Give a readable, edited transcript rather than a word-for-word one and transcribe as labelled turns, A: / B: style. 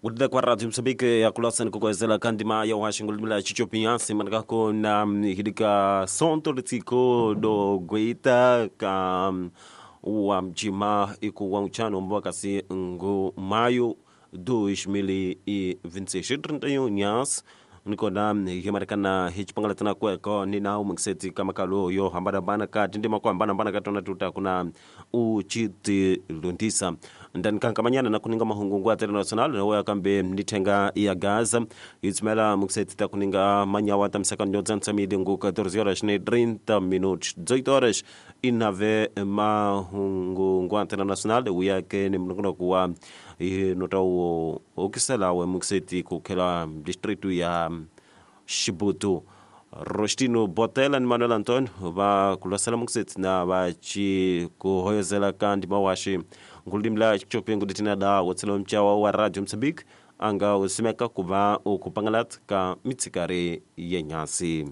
A: Kutida kwa Radio Mozambique ya kulasa ni kukwezela kandima ya uhashingulumila chichopinyasi manakako na hidika sonto litiko do guita ka wa mjima iku wa uchano mbwa kasi ngu maio 2026 31 nyas nikona himarekana hichipangalatana kweko nina umukiseti kamakalo yo hambana ka tindima kwa hambana katona tuta kuna uchitilundisa ndani kankamanyana na kuninga mahungu ya international na waya kambe nithenga ya Gaza itsimela mukiseti ta kuninga manyawa ta msaka nyodza ntsamidi ngu 14 horas ne 30 minutos 18 horas inave mahungu ngwa international uyake ni mnunguno kuwa nota okisela we mukiseti kukhela district ya Xibutu Rostino Botela ni Manuel Antonio va kulosela mukiseti na va ci kuhoyozela ka ndima waxi nkulimla xicopengu letina da wotsela mcawa wa Radio Mozambique anga usimeka ku va ukupangalat ka mitsikari yenyasi.